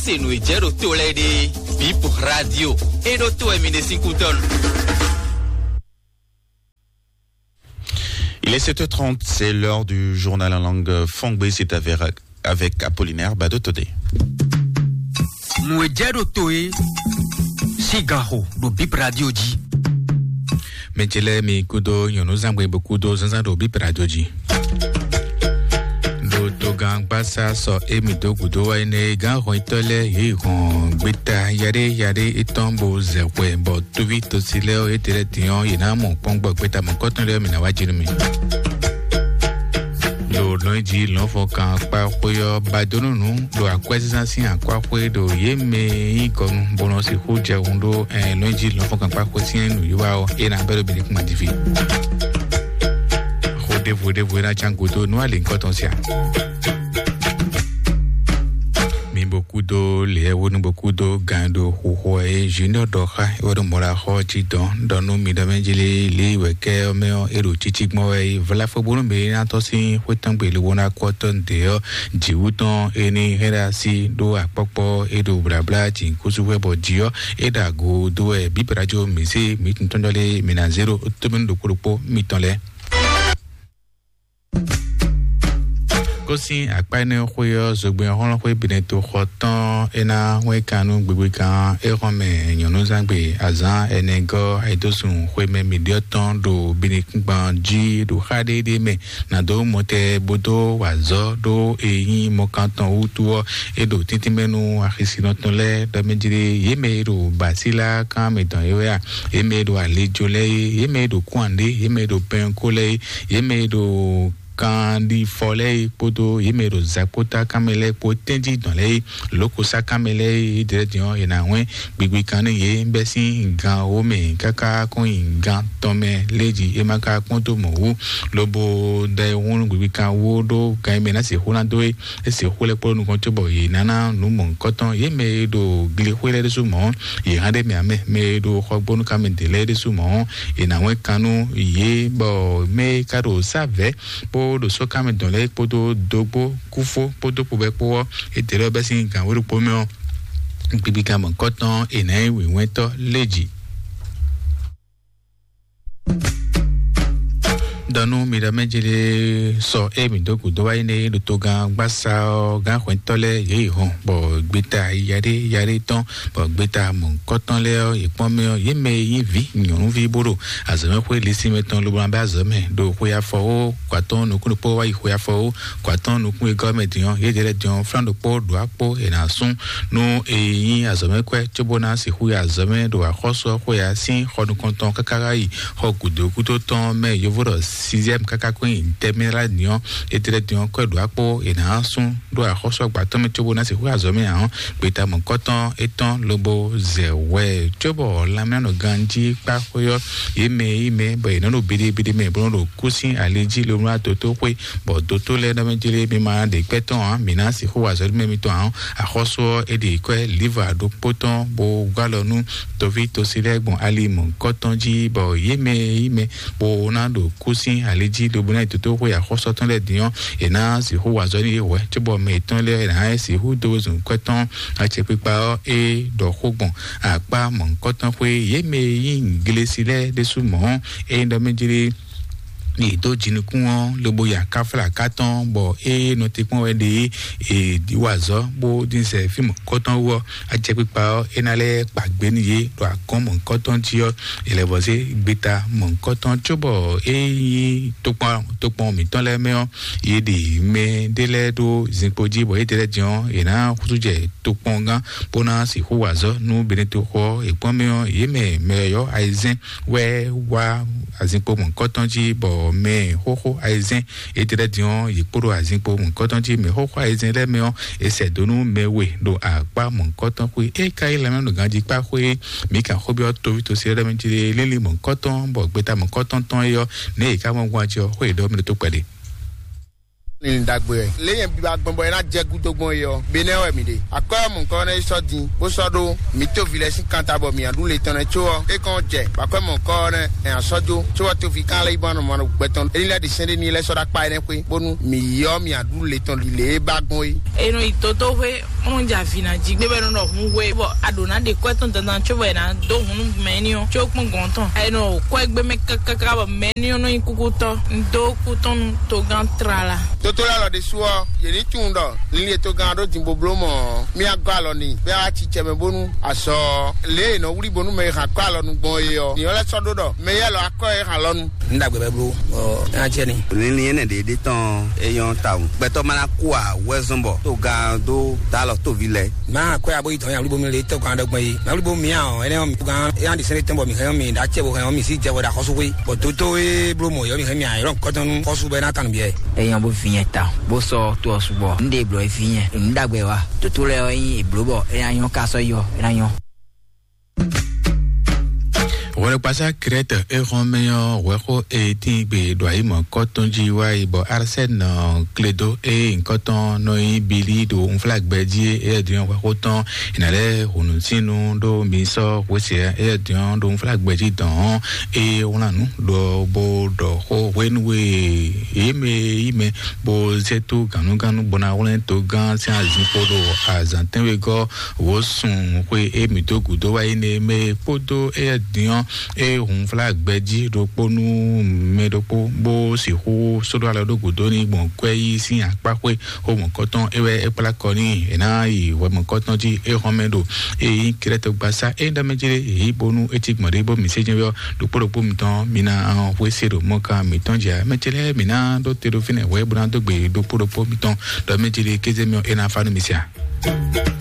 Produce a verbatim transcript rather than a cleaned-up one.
Se nǔ e jɛ ɖo to lɛ́ɛ ɖe, Bip Radio, e ɖo to wɛ mi ɖe sín kútɔ́ nu. Il est sept heures trente, c'est l'heure du journal en langue fongbe, c'est avec, avec Apollinaire Badotodé. Nǔ e jɛ ɖo to e, sín ganxo ɖo Bip Radio jí. Mɛ ce lɛ́ɛ mi kúdó nyɔ̌núzangbe bó kúdó zánzán ɖo Bip Radio jí. Ɖo togán gbásá sɔ émi dó gǔdo wá énɛ́ gán hɔnyitɔ́ lɛ́ɛ yě hɔn gbéta yaɖé yaɖé étɔn bó zɛ hwɛ bɔ tóví tosi lɛ́ɛ ɔ́, étɛ́ lɛ́ɛ din ɔ́, yě ná mɔ kpɔ́n gbɔ gbéta mɔ̌kɔtɔn lɛ́ɛ ɔ́, mǐ ná wá jí nú mi. Ɖo lɔ̌nyijǐ lɔ̌nfɔkan kpá xwé ɔ́, ba dó nú nǔ ɖo akwɛ́zínzán sín akwáxwé ɖo yě mɛ e nyí kɔnu bó nɔ sixú jɛ hun ɖó lɔ̌nyijǐ lɔ̌nfɔkan kpá xwé sín nǔwiwa ɔ́, é ná bɛ́ ɖo bǐ ní kún ma jí fí. Xó ɖěvo ɖěvo e ná cán gúdo nú alǐngɔ́ tɔn sia. Mi bo kúdó lěɛ́wónú bo kúdó gan ɖo xuxo e Junior ɖɔ xá é wɛ ɖo mɔ̌ ɖo axɔ́ jí dɔn ɖɔ nú mi ɖɔ mɛ jí lé lě wɛ kɛ ɔ́ mɛ ɔ́, é ɖo cící gbɔn wɛ é vlá fó bónú mɛ e ná tɔ́ sín xwé tɔn gbe lobo ná kú ɔ́ tɔn ɖě ɔ́, jǐwú tɔn é ní hɛn ɖo así ɖó akpɔ́kpɔ́ é ɖo blǎblá jǐnkúsú wɛ bɔ jǐ ɔ́, é ɖo ago dó wɛ bǐ bǐ ná jó mǐ sí mǐ tun tɔn jɔ lé mǐ ná zé ɖo tómɛnú ɖokpó ɖokpó mitɔn lɛ́ɛ. Kó sín akpá énɛ́ xwé ɔ́, zogbɛ́n hlɔ́nhlɔ́n xwé Benɛto xɔ tɔn é ná hwɛ́n kan nú gbigbikan é xɔn mɛ nyɔ̌núzangbe azǎn ɛnɛgɔ́ ayǐdósun xwé mɛ mǐɖyɔ́ tɔn ɖo binukúngban jí ɖo xá ɖéɖé mɛ ná dó mɔtɛ bó dó wa azɔ̌ ɖó e nyí mɔkantɔn wútu ɔ́, é ɖo tíntín mɛ nú axisinɔ tɔn lɛ́ɛ ɖɔ mɛ jlé yě mɛ e ɖo basílá kan mɛ dɔn é wɛ a, yě mɛ e ɖo alijo lɛ́ɛ é, yě mɛ e ɖo kúnwǎnɖé, yě mɛ e ɖo pɛnko lɛ́ɛ é, yě mɛ e ɖo kanɖifɔ lɛ́ɛ é kpódó yě mɛ e ɖo zakpótákan mɛ lɛ́ɛ kpó tɛ́njí dɔn lɛ́ɛ é, lǒkosákan mɛ lɛ́ɛ é, é dlɛ́ din ɔ́, è nǎ hwɛ́n gbigbikan nú yě bɛ́ sín gan wó mɛ káká kɔn nyi gan tɔn mɛ lé jí é ma ka kpɔ́n dó mɔ̌ wú, lobo da e hún nú gbigbikan wó ɖó gan e mɛ ná sixú ná dó é. É sixú lɛ́ kplɔ́ nukɔn cóbɔ yě ná ná nǔ mɔ̌hunkɔtɔn. Yě mɛ e ɖo glixwé lɛ́ɛ ɖésú mɔ̌, yě hán ɖ'é mɛ ǎ mɛ. Mɛ e ɖo xɔgbónúkanmɛ ɖě lɛ́ɛ ɖésú mɔ̌, è nǎ wɛn kan nú yě, bɔ mɛ e ka ɖo sá vɛ̌ kpó ɖo sɔ́kanmɛ dɔn lɛ́ɛ kpódó dógbó kúfó kpódó kpobɛ́ kpó ɔ́, é ɖě lɛ́ɛ bɛ́ sín gǎn wé ɖokpó mɛ ɔ́, gbigbikan mɔ̌hunkɔtɔn è nǎ nyí wǐnwɛ́ntɔ́ lé jǐ. Dɔnú mi ɖɔ mɛ jele sɔ e mi dó gǔdo wá yi ne ɖo togán gbásá ɔ́, gán hwɛntɔ́ lɛ́ɛ yě yi hɔn, bɔ gbeta yaɖé yaɖé tɔn, bɔ gbeta mɔ̌hunkɔtɔn lɛ́ɛ ɔ́, yě kpɔ́n mɛ ɔ́, yě mɛ e nyí vǐ nyɔ̌nuví bó ɖo azɔ̌mɛxwé lisínmɛ tɔn lobo ná bɛ azɔ̌ mɛ ɖo xwe afɔwó kɔ atɔ́ɔ́n nukún ɖokpó wá yi xwe afɔwó kɔ atɔ́ɔ́n nukún e gɔ́ mɛ din ɔ́, yě ɖě lɛ́ɛ din ɔ́, flán ɖokpó ɖo akpó è nǎ sú nú e nyí azɔ̌mɛkwɛ́ cóbó ná sixú yi azɔ̌mɛ ɖo axɔ́sú ɔ́ xwe ǎ sín xɔ nukɔntɔn káká wá yi xɔ gǔdo gúdo tɔn mɛ yovo ɖɔ sixième káká kɔn nyi tɛmɛ lá din ɔ́, étɛ́lɛ́ din ɔ́ kɔ́ ɖo akpó è nǎ sú ɖo axɔ́sú agba tɔn mɛ cóbó ná sixú yi azɔ̌mɛ ǎ ɔ́, gbeta mɔ̌kɔtɔn étɔn lobo zɛ hwɛ cóbɔ lanmɛnánɔ ganjí kpá xwé ɔ́, yě mɛ yí mɛ bɔ yě nɔ ɖo biɖibiɖi mɛ bó nɔ ɖo kú sín ali jí lobo ná dótó xwé, bɔ dótó lɛ́ɛ nɔ mɛ jlé mi ma ɖe gbɛ́ tɔn ǎ, mǐ ná sixú wa azɔ̌ mɛ mitɔn ǎ ɔ́, axɔ́sú ɔ́ é ɖi kwɛ́ liva ɖokpó tɔn bó gɔ́ alɔ nú toví tosi lɛ́ɛ gbɔn ali mɔ̌hunkɔtɔn jí, bɔ yě mɛ yí mɛ bó ná ɖo kú sín ali jí lobo ná yi dótó xwé axɔ́sú tɔn lɛ́ɛ din ɔ́, è nǎ sixú wa azɔ̌ nú yě hwɛ̌ cóbɔ mɛ yětɔn lɛ́ɛ è nǎ sixú dó zun kwɛ́ tɔn acɛkpikpa ɔ́ é ɖɔ xó gbɔn akpá mɔ̌hunkɔtɔn xwé. Yě mɛ e nyí glesi lɛ́ɛ ɖésú mɔ̌, ényí ɖɔ mɛ jlé yě dó jinukún ɔ́ lobo ya káflá ká tɔn bɔ é nɔ te kpɔ́n wɛ ɖe é wa azɔ̌ bó dín sɛ fí mɔ̌hunkɔtɔn wú ɔ́, acɛkpikpa ɔ́ é ná lɛ́ kpa gbě nú yě ɖo agɔ̌n mɔ̌hunkɔtɔn jí ɔ́, è lɛ́ vɔ zé gbeta mɔ̌hunkɔtɔn cóbɔ é nyí tokpɔn tokpɔn mǐtɔn lɛ́ɛ mɛ ɔ́, yě ɖi mɛ ɖé lɛ́ɛ ɖó zinkpo jí bɔ yě ɖe lɛ́ɛ din ɔ́, yě ná xúsú jɛ tokpɔngán bó ná sixú wa azɔ̌ nú Benɛto xɔ ɔ́. È kpɔ́n mɛ ɔ́, yě mɛ mɛ yɔ̌yɔ́ ayizɛ́n wɛ wá azinkpo mɔ̌hunkɔtɔn jí, bɔ mɛ xóxó ayizɛ́n yětɛ́ lɛ́ɛ din ɔ́, yě kpo ɖo azinkpo mɔ̌hunkɔtɔn jí. Mɛ xóxó ayizɛ́n lɛ́ɛ mɛ ɔ́, è sɛ dó nú mɛ we ɖo akpá mɔ̌hunkɔtɔn xwé. É ka nyí lanmɛnánɔganjíkpá xwé, mǐ kan xó byɔ́ toví tosí lɛ́ɛ mɛ jí lé, lélí mɔ̌hunkɔtɔn, bɔ gbeta mɔ̌hunkɔtɔn tɔn é ɔ́, nɛ̌ yě ká mɔ gbɔn jí ɔ́, xó yě ɖɔ mɛ ɖo tó kpɛɖé. Ní ɖagbe wɛ. Lě nyɛ biba gbɔn bɔ é ná jɛ gúdo gbɔn é ɔ́, Benɛ́ wɛ mǐ ɖe. Akwɛ́ mɔ̌kɔ nɛ́ yi sɔ́ din, bó sɔ́ ɖó mǐ tóvilɛ sín kan ta bɔ mǐ nya ɖu le tɔn nɛ́ có ɔ́, é kɔn jɛ bɔ akwɛ́ mɔ̌kɔ nɛ́ ɛ nya sɔ́ jó, có bɔ tóvi kan lɛ́ yi bɔn anɔ mɔ gbɛtɔn éní lɛ́ ɖi sɛ́n ɖé n'i lɛ́ sɔ́ ɖó akpá énɛ́ xwé, bónú mǐ yi ɔ́ mǐ nya ɖu le tɔn lě e ba gbɔn é. É nɔ yi tótó xwé, nɔ jɛ avǐ ná jí gbé bɔ é nɔ ɖɔ hun we, bɔ a ɖǒ ná ɖe kwɛ́ tɔn dandan có bɔ è nǎ dó hun nú mɛ éní ɔ́, có kpɔ́n gɔ̌n tɔn. È nɔ kwɛ́ gbé mɛ káká bɔ mɛ éní ɔ́ nɔ nyí kúkútɔ́. Un dó kú tɔn nú togán tlala. Tótó lɛ́ɛ lɔ ɖésú ɔ́, yě ní tunwun ɖɔ linlin e togán ɔ́ ɖó din bó bló mɔ̌ ɔ́, mì agɔ́ alɔ n'i, bɔ é wá cí cɛ mɛ bónú azɔ lě e è nɔ wlí bónú mɛ e hɛn akwɛ́ alɔ nu gbɔn é ɔ́, ní ɔ́ lɛ́ sɔ́ ɖó ɖɔ mɛ yɛ́ lɔ akwɛ́ e hɛn alɔ nu. Un ɖagbe bɛ bló, ɔ, é ná jɛ ni. Linlin énɛ́ ɖě ɖé tɔn é nyɔ́ tawun. Gbɛtɔ́ ma ná kú ǎ, wɛ́ zɔ́n bɔ togán dó dó alɔ tóvi lɛ́ɛ. Má akwɛ́ abo yi dɔn ya wlí bo mi le tɔgɔn aɖɔgbɛn yi. Má wlí bo mi ǎ ɔ́, énɛ́ ɔ́ mi gán é ná ɖi sɛ́n tɔn bɔ mi hɛn ɔ́ mi ɖó acɛ bo hɛn ɔ́ mi sí jɛ wɛ ɖo axɔ́sú xwé. Bɔ dótó e bló mɔ̌ yɔ mi hɛn mi ǎ, é ɖɔ nǔkɔtɔn nú xɔ́sú bɔ é ná kan nǔ biɛ. Eyan bó vinyɛ ta bó sɔ́ tó ɔ́ sugbɔ. Un ɖe blɔ é vinyɛ. Nǔ ɖagbe wa. Dótó lɛ́ɛ ɔ́ nyí èbló bɔ é ná nyɔ́ ká sɔ́ yɔ é ná nyɔ́. Wɛlɛkpasa Krɛt e xɔn mɛ ɔ́, wɛxo e tín gbe ɖo ayi mɔ̌kɔtɔn jí wá yi bɔ Arsɛn nɔ kledo e nyǐkɔtɔn nɔ nyi Bili ɖo unflágbɛ jí é, é din wɛxo tɔn è nǎ lɛ́ hǔnú sín nú ɖó mi sɔ́ hwesɛ é din ɖo unflágbɛ jí dɔn ɔ́, é wlán nǔ ɖɔ bó ɖɔ xó hwenu e yě mɛ yí mɛ bó zɛ tó gǎnugǎnu bó ná wlɛ́n togán sín azinkpo ɖo azǎn tɛ́nwegɔ́ wǒ sun xwe e mǐ dó gǔdo wá yi nɛ mɛ kpódó éyɛ́ din ɔ́, e hunflá gbɛjí ɖokpó nú mɛ ɖokpó bó sixú sóɖó alɔ ɖó gǔdo n'i gbɔn kwɛ́ yí sín akpá xwé xomɔ̌kɔtɔn é wɛ é kplá kɔ n'i è nǎ yi hwɛmɔ̌kɔtɔn jí é hɔn mɛ ɖo e nyí Krɛ́tɔgbasá é ɖɔ mɛ jí ɖé yě yí bónú é cí gbɔn ɖé bó mǐ sé jɛ́n ɔ́ ɖokpó ɖokpó mitɔn mi ná hwesé ɖo mɔ̌kan mǐtɔn jí ǎ. Mɛ ce lɛ́ɛ mǐ ná ɖó te ɖo fínɛ́ hwɛ bó ná dó gbe ɖokpó ɖokpó mitɔn ɖɔ mɛ jí ɖé kéze mɛ ɔ́ é ná fá nú mi sia.